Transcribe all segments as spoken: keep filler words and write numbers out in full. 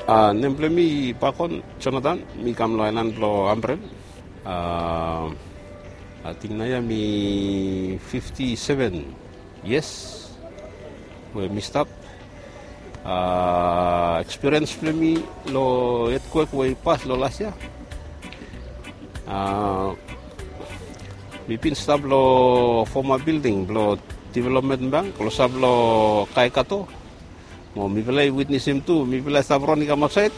A, nem blong mi Bakon Jonathan, mi kam long aelan blong Ambrel. A, ating nao ya mi fifti seven yias we mi stap. A, ekspiriens blong mi long etkwek we i pas long las yia. A, mi bin stap long foma bilding blong Development Bank klosap long Kaikato. Mo mifala i witnesim tu, mifala i stap ron i kam aotsaed.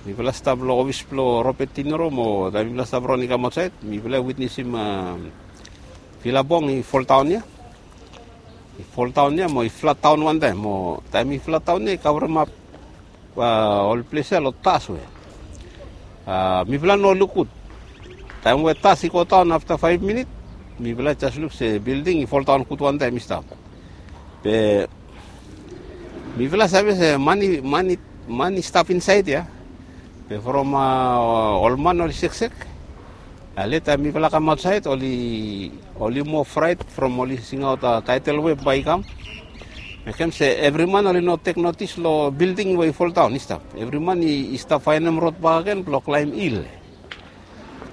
Mifala i stap long ofis blong Robert De Niro, mo taem mifala i stap ron i kam aotsaed, mifala i witnesim, a, vilabong i foldaon ya. I foldaon ya mo i flatdaon wantaem, mo taem i flatdaon ya i kavremap, a, ol ples ya long das we, a, mifala no luk gud. Taem we das i godaon afta faef minit, mifala jes luk se bilding i foldaon gud wantaem i stap. Be mifala save se man i, man i, man i stap insaed ya. Be from, a, ol man oli seksek. A, leta mifala kam aotsaed, oli, oli moa fraet from oli singaot, a, tidal wave bae i kam. Mekem se evri man oli no tek notis long bilding we i foldaon i stap. Evri man i, i stap faenem rod bakegen blong klaem hil.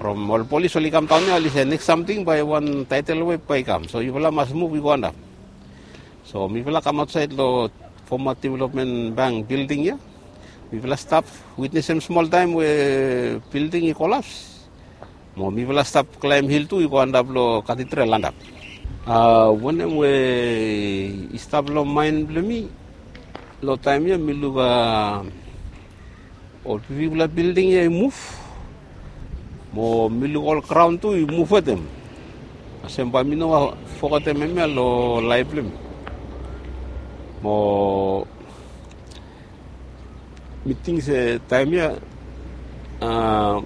From ol polis oli kamdaon ya, oli se nekis samting bae wan tidal wave bae i kam. So yufala mas muv i go antap. So mifala kam aotsaed long foma Development Bank bilding ya. Mifala stap witnesim smoltaem we bilding i kolaps. Mo mifala stap klaem hil tu i go antap long katidral antap. A, wanem we i stap long maen blong mi long taem ya, mi luk, a, ol bigfala bilding ya i muv. Mo mi luk ol graon tu i muv wetem. Kasem bae mi no fogetem hemia long laef blong mi. Mo mi ting se taem ya, a,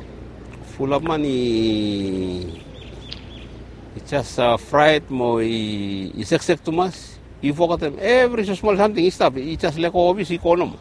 fulap man i, i jes, a, fraet mo i, i seksek tumas. I fogetem evri smosmol samting i stap, i jes lego ofis i go nomo.